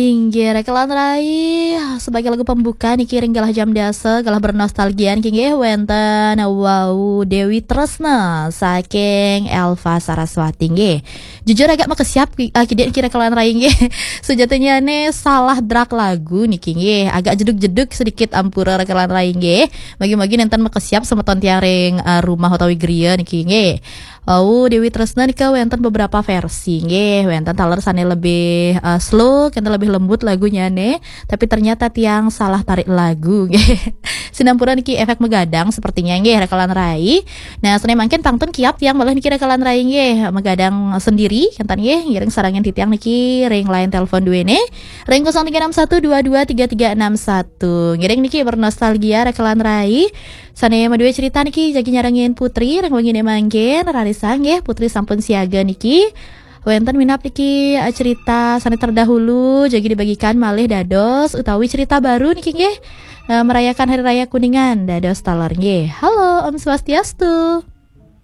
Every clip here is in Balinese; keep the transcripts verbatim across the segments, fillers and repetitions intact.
Inggih, Rekelan Rai, sebagai lagu pembuka niki ring galah jam dasa, galah bernostalgia niki nggih wenten, wow, Dewi Tresna saking Elva Saraswati nggih. Jujur agak makesiap ki- ah, kidik niki Rekelan Rai nggih. Sejatinya ne salah drag lagu niki nggih. Agak jeduk-jeduk sedikit ampura Rekelan Rai nggih. Bagi-bagi nenten makesiap semeton tiang ring ah, rumah utawi griya niki nggih. Oh, Dewi Tresna nika wenten beberapa versi nggih. Wenten taler sane lebih eh, slow, kenten lebih lembut lagunya ne. Tapi ternyata tiang salah tarik lagu nggih. Sinampura niki efek megadang sepertinya nggih Rekelan Rai. Nah, sane mangkin pangtun kiap tiang malih niki Rekelan Rai nggih. Megadang sendiri kenten nggih. Ngiring sarangan titiang niki ring line telepon dua ne. Ring kosong tiga enam satu dua dua tiga tiga enam satu. Ngiring niki bernostalgia Rekelan Rai. Sane madue cerita niki jagi nyarengin Putri ring wengine mangkin, rarisang nggih Putri sampun siaga niki. Wenten minab niki eh, cerita sane terdahulu jagi dibagikan malih dados utawi cerita baru niki nggih. Eh, merayakan Hari Raya Kuningan dados taler nggih. Halo, Om Swastiastu.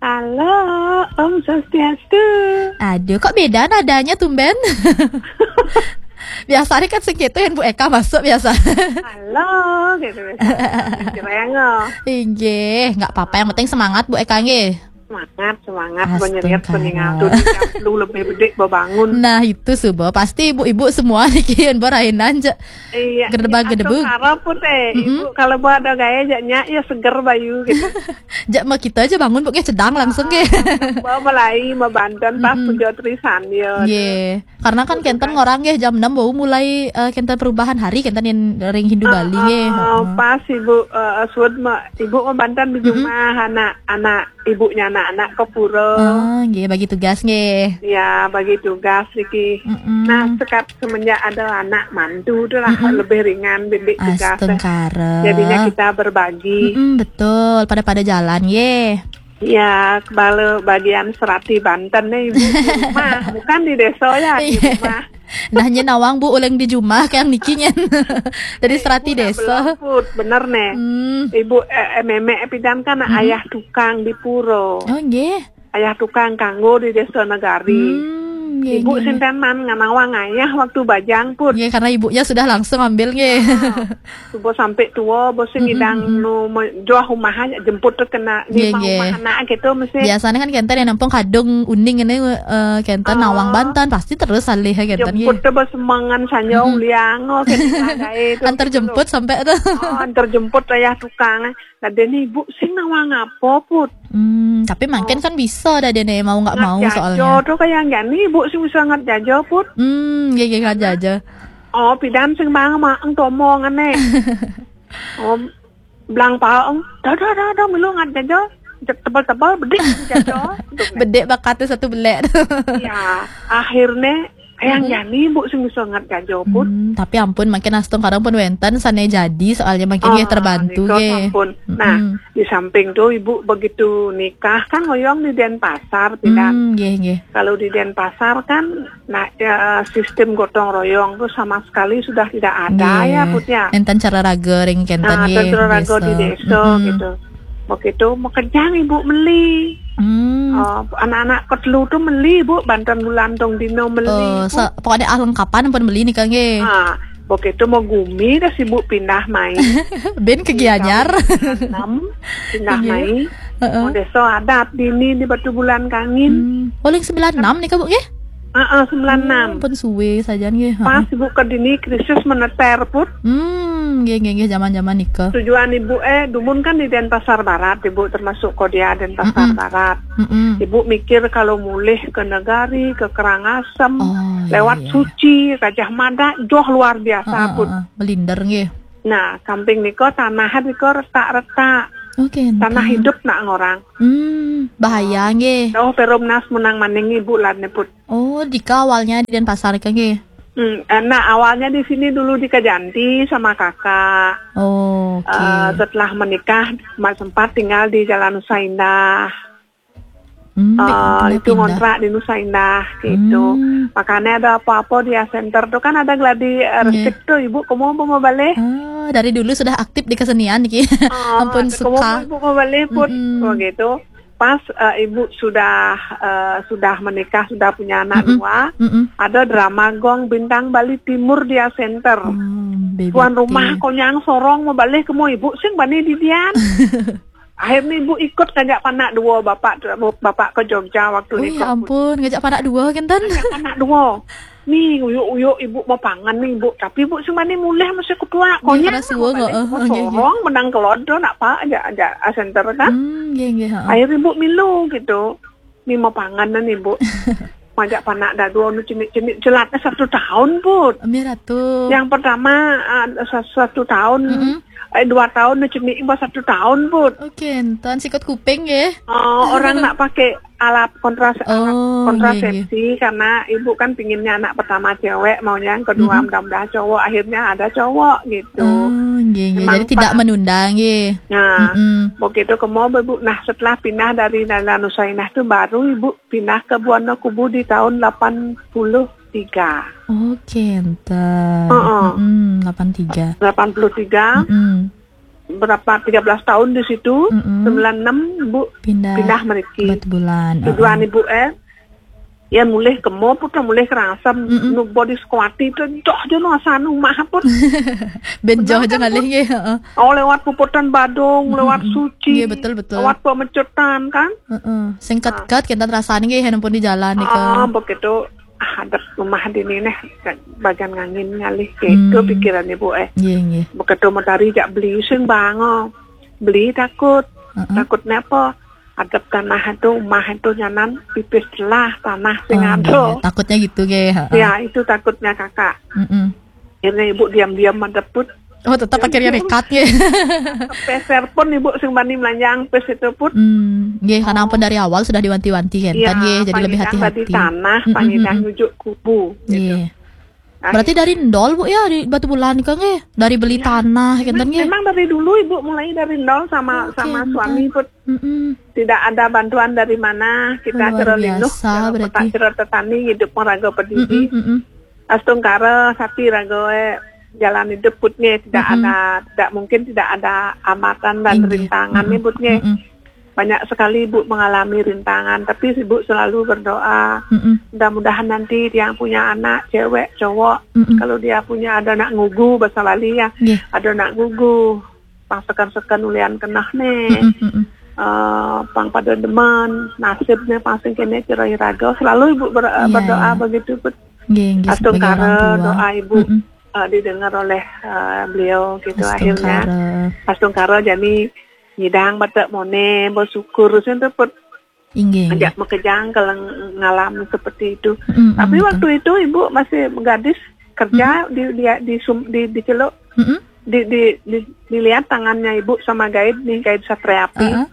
Halo, Om Swastiastu. Aduh, kok beda nadanya tumben? Biasanya kan sing gitu yang Bu Eka masuk biasa. Halo, gitu biasa. Jereng, oh. Inggih, nggak apa-apa. Yang penting semangat Bu Eka nggih. Semangat, semangat. Astungkara. Menyeriat peningal tuh di jam sepuluh lebih bedik bebangun. Nah, itu suba. Pasti ibu-ibu semua niki yen berainan je. Iya. Gedebag-gedebug. Astungkara pun teh. Mm-mm. Ibu kalau buat ada gaya jaknya ya seger bayu gitu. Jak mah kita aja bangun pokoknya cedang langsung ke. Ah, bawa melai, mau banten pas Mm-mm. Puja Trisandya. Nggih. Karena kan kenten ngorang nggih jam enam bau mulai eh, kenten perubahan hari kenten yang ring Hindu Bali nggih. Ah, heeh. Pas ibu eh, suud ma, ibu mau banten di Mm-mm. Rumah anak-anak ibunya anak-anak ke pura. Ah, nggih bagi tugas nggih. Ya, bagi tugas iki. Mm-mm. Nah, sekat semenjak ada anak mantu tu lah Mm-mm. Lebih ringan bidik tugas. Astungkara. Jadinya kita berbagi. Mm-mm, betul, pada-pada jalan nggih. Ya, kepala bagian serati Banten nih, Ibu, di rumah, bukan di desa ya, di rumah. Nah, nyen nawang Bu uleng di jumah kang niki nyen. Dari serati desa. Belum, Put, bener nih. Hmm. Ibu eh, eh, memek pidan kan ayah tukang di pura. Oh, nggih. Ayah tukang kanggo di desa Negari. Hmm, nggih, ibu nggih, nggih. Sinten man nganawang ayah waktu bajang, Put. Nggih, karena ibunya sudah langsung ambil nggih. Ah, subuh sampai tua, bos ngidang nu joh rumah aja jemput tu kena lima rumah anak gitu mesti. Biasanya kan kenten yang nampung kadung uning ini eh, kenten nawang banten pasti terus alih ya kenten nggih. Jemput tu bos semangan sanyo uliang oh kenten gae tu. Antar jemput sampai tu. Oh, antar jemput ayah tukang. Lah dene ibu sing nawang apa, Put? Hmm, tapi mangkin kan bisa dah dene mau nggak mau soalnya. Ngat jajo tu kayak nggak nih ibu sing bisa ngat jajo, Put. Hmm, nggih nggih ngat jajo. Oh, pidan sing bang maeng tomo ngene. Oh, blang paeng. Dah dah dah dah milu ngat jajo. Tebal-tebal bedik jajo. Bedik bakatnya satu belek. Ya, akhirnya Yang jani ibu sing bisa ngat jajo pun. Hmm, tapi ampun makin astung kadang pun wenten sane jadi soalnya makin nggih terbantu nika nggih. Sampun. Nah, di samping tu ibu begitu nikah kan ngoyong di Denpasar tidak. Hmm, nggih nggih. Kalau di Denpasar kan nah ya, sistem gotong royong tu sama sekali sudah tidak ada ya Put ya. Enten cara raga ring kenten nggih. Nah, enten cara raga di desa gitu. Begitu mekejang ibu meli. Hmm. Oh, anak-anak ketelu tu meli ibu banten bulan tong dino meli. Oh, pokoknya ah lengkapan pun meli nih kang nggih. Ah, begitu mau gumi dah sibuk pindah mai. Ben ke Gianyar. Enam pindah mai. Heeh. Oh, desa adat dini di Batu Bulan Kangin. Hmm. Paling sembilan enam nih kak bu nggih? Heeh, sembilan enam. Pun suwe saja nggih. Pas ibu ke dini krisis meneter put. Hmm, nggih nggih nggih zaman-zaman nika. Tujuan ibu eh dumun kan di Denpasar Barat, ibu termasuk Kodia Denpasar Barat. Mm-mm. Ibu mikir kalau mulih ke Negari, ke Karangasem, lewat Suci, Gajah Mada, joh luar biasa put. Heeh, belinder nggih. Nah, samping nika tanah nika retak-retak. Oke. Tanah hidup nak ngorang. Hmm, bahaya nggih. Oh, Perumnas menang maning ibu lan put. Oh, dika awalnya di Denpasar nika nggih. Hmm, eh, nah awalnya di sini dulu di Kajanti sama kakak. Oh, oke. Eh, setelah menikah ma- sempat tinggal di Jalan Nusa Indah. Hmm, eh, itu ngontrak di Nusa Indah gitu. Hmm. Makanya ada apa-apa di center tuh kan ada gladi eh, resip tuh ibu kamu mau mau balik. Ah, dari dulu sudah aktif di kesenian niki. Oh, ampun suka. Kamu ibu mau balik pun begitu. Pas eh, ibu sudah eh, sudah menikah, sudah punya anak Mm-mm. dua, Mm-mm. Ada drama gong Bintang Bali Timur dia center. Hmm, baby Tuan rumah konyang sorong mau balik ke mau ibu sing bani didian. Akhirnya ibu ikut ngajak panak dua bapak bapak ke Jogja waktu Oh, itu. Ya ampun, ngajak panak dua kan, Tan? Ngajak panak dua. Nih, uyuk-uyuk ibu mau pangan nih, ibu. Tapi ibu sing bani mulih masih ketua. Konyang. Sorong menang kelodo nak pak aja aja center kan. Hmm, nggih, nggih, heeh. Akhirnya ibu milu gitu. Nih mau pangan nih, ibu. Ngajak panak dadua nu cemik-cemik jelatnya satu tahun, Put. Miratu. Yang pertama uh, satu tahun, mm -hmm. eh, dua tahun nu cemik ibu satu tahun, Put. Oke, enten sikut kuping ya. Oh, orang nak pakai alat kontras oh, alat kontrasepsi iya, iya. Karena ibu kan pinginnya anak pertama cewek, maunya yang kedua mm -hmm. Mudah-mudahan cowok, akhirnya ada cowok gitu. Oh, iya, iya. Jadi tidak menunda nggih. Nah, mm -hmm. Begitu ke mau ibu. Nah, setelah pindah dari Nala Nusainah tuh baru ibu pindah ke Buana Kubu di tahun delapan puluh tiga. Oke, enten. Uh -uh. Mm -hmm, delapan tiga. delapan puluh tiga. Mm -hmm. Berapa tiga belas tahun di situ, mm -hmm. sembilan enam ibu pindah, pindah meriki. Bulan. Tujuan uh -uh. Ibu eh ya mulih ke mau put, mulih kerangsem mm -hmm. Nu body squatty itu joh aja nu asal nu mah put. Ben joh aja ngalih ya. Oh, lewat puputan Badung, mm -hmm. Lewat Suci. Iya, betul betul. Lewat Pemecutan kan. Uh -uh. Singkat-kat kita terasa nih ya, di jalan nih. Oh, begitu. Ah, ada rumah di ini nih, bagian ngangin ngalih gitu hmm. Pikiran ibu eh. Iya, iya. Begitu mau tari jak beli sing bango. Beli takut. Uh -uh. Takutnya apa? Adep tanah itu, rumah itu nyanan pipis lah tanah sing oh, ada. Iya. Takutnya gitu ke. Ya, itu takutnya kakak. Mm -mm. Akhirnya ibu diam-diam madep put. Oh, tetap akhirnya nekat ya. Peser pun ibu sing bani melanjang pes itu put. Hmm, nggih, karena ampun dari awal sudah diwanti-wanti kan, ya, kan ya, jadi lebih hati-hati. Di tanah, mm -mm. Pangidang nujuk kubu. Gitu. Iya. Berarti dari nol, Bu, ya, di Batu Bulan kan ya? Dari beli ya. Tanah kan ya? Memang dari dulu ibu mulai dari nol sama oh, sama suami put. Mm -mm. Tidak ada bantuan dari mana, kita cerah linduh, cerah tetani hidup meraga pedidi. Mm -mm, mm -mm. Astungkara sati raga eh, jalan hidup putnya tidak mm -hmm. Ada, tidak mungkin tidak ada hambatan dan inggih. Rintangan mm -hmm. Nih putnya mm -hmm. Banyak sekali ibu mengalami rintangan, tapi ibu selalu berdoa mm -hmm. Mudah-mudahan nanti dia punya anak cewek cowok mm -hmm. Kalau dia punya ada anak ngugu bahasa Bali ya yeah. Ada anak ngugu pang seken-seken ulian kenah nih mm -hmm. Uh, pang pada demen nasibnya pang sing kene cerai raga selalu ibu ber, yeah, berdoa yeah. Begitu put Nggih, nggih, astungkara doa ibu mm -mm. Uh, didengar oleh uh, beliau gitu astungkara. Akhirnya astungkara jadi nyidang batak mone bersyukur sing dapat inggih ajak makejang kalau ngalam seperti itu mm -mm. Tapi waktu itu ibu masih gadis kerja mm -mm. Di di di, sum, di di celuk mm -mm. Di di di dilihat tangannya ibu sama guide nih guide satria api uh -uh.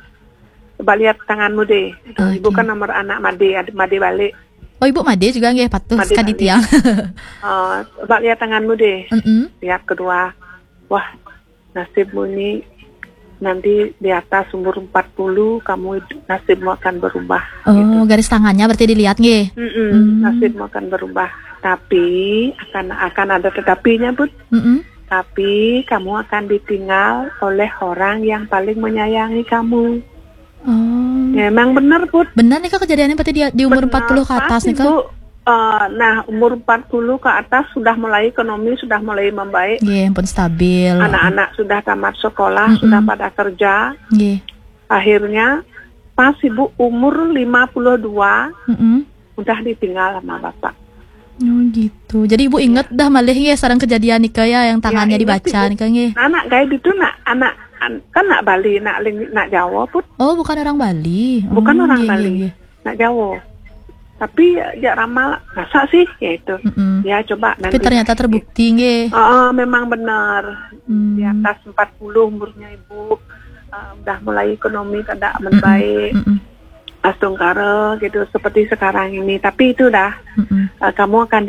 Coba lihat tanganmu deh. Oh, ibu okay. Kan nomor anak Made, Made balik. Oh, ibu Made juga nggih patuh sekali tiang. Uh, coba lihat tanganmu deh. Mm -mm. Lihat kedua. Wah, nasibmu ini nanti di atas umur empat puluh kamu nasibmu akan berubah. Oh, gitu. Garis tangannya berarti dilihat nggih. Mm -mm, hmm. Nasibmu akan berubah. Tapi akan akan ada tetapinya, Bud. Mm -mm. Tapi kamu akan ditinggal oleh orang yang paling menyayangi kamu. Oh. Ya, emang bener, Put. Bener nih, Kak, kejadiannya berarti di, di umur bener, empat puluh ke atas nih, Kak? Bu, uh, nah, umur empat puluh ke atas sudah mulai ekonomi, sudah mulai membaik. Iya, ampun stabil. Anak-anak sudah tamat sekolah, mm -mm. Sudah pada kerja. Iya. Akhirnya pas ibu umur lima puluh dua, mm -mm. Udah ditinggal sama bapak. Oh gitu. Jadi ibu inget dah malih ya sarang kejadian nika ya yang tangannya ya, dibaca nika nggih. Anak guide itu nak anak an, kan nak Bali, nak ling, nak Jawa pun. Oh, bukan orang Bali. Bukan oh, orang iya, Bali. Iya, iya. Nak Jawa. Tapi ya, ya ramal masa sih ya itu. Mm -mm. Ya coba nanti. Tapi ternyata terbukti nggih. Oh, memang benar. Hmm. Di atas empat puluh umurnya ibu. Uh, udah mulai ekonomi kada membaik. Mm -mm. Astungkara gitu seperti sekarang ini. Tapi itu dah mm -mm. Uh, kamu akan